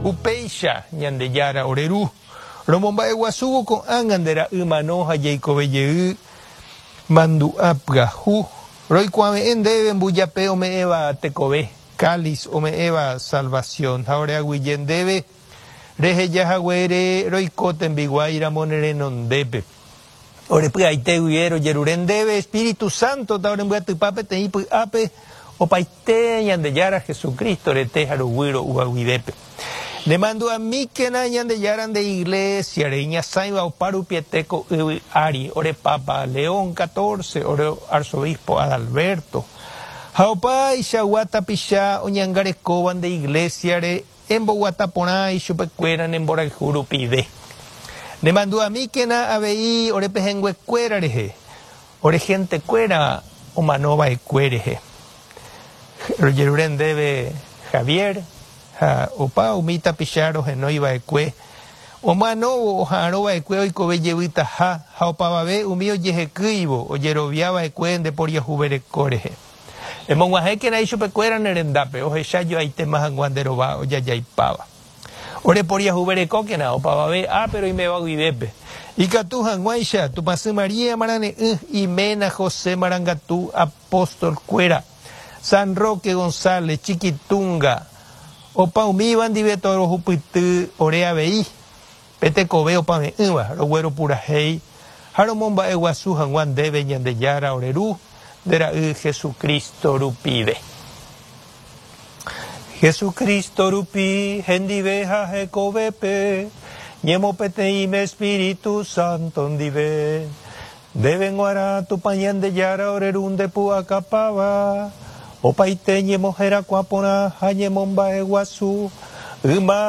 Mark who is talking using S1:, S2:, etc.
S1: Upéicha, Ñandejára ore Ru, romomba'eguasúvo ko'ág̃a nde Ra'y mano ha jeikove jey mandu'a pyahu, roikuave'ẽ ndéve mbujape ome'ẽva tekove, cáliz ome'ẽva salvación, ha oreaguyje ndéve reheja haguére roiko tembiguái ramo ne renondépe. Ore py'aite guive rojerure ndéve Espíritu Santo ta orembyatypa peteĩ py'ápe opaite Ñandejára Jesucristo rete ha ruguy ro'úva guivépe. Ne mandu'amíkena Ñandejára nde Iglesia-re iñasãiva opa rupiete ko yvy ári, ore Papa León catorce, ore Arzobispo Adalberto, ha opaichagua tapicha oñangarekóva nde Iglesia-re Emboguata porã ichupekuéra ne mborayhu rupive. Ne mandu'amíkena avei ore pehẽnguekuéra rehe, ore hentekuéra omano va'ekue rehe. Rojerure ndéve Javier ha opa umi tapicha rohenói va'ekue, omanóvo oha'arõ va'ekue oikove jevytaha ha opavave umi ojehekýivo ojerovia va'ekue nde poriahuvereko rehe. Emog̃uahẽkena ichupekuéra ne rendápe, ohecha joaitéma hag̃ua nde rova ojajaipáva. Ore poriahuverekókena opavave ápe roiméva guivépe, ikatu hag̃uáicha Tupãsy María marane'ỹ, iména José marangatu, apóstol-kuéra, San Roque González, Chiquitunga, opa umíva ndive torohupyty ore avei, pe tekove opave'ỹva rogueropurahéi ha romomba'eguasu hag̃ua ndéve Ñandejára ore Ru, nde Ra'y Jesucristo rupive. Jesucristo rupi hendive ha hekovépe, ñemopeteĩme Espíritu Santo ndive. Ndéve g̃uarã Tupã Ñandejára ore Ru nde pu'akapáva, opaite ñemoherakuã porã ha ñemomba'eguasu yma.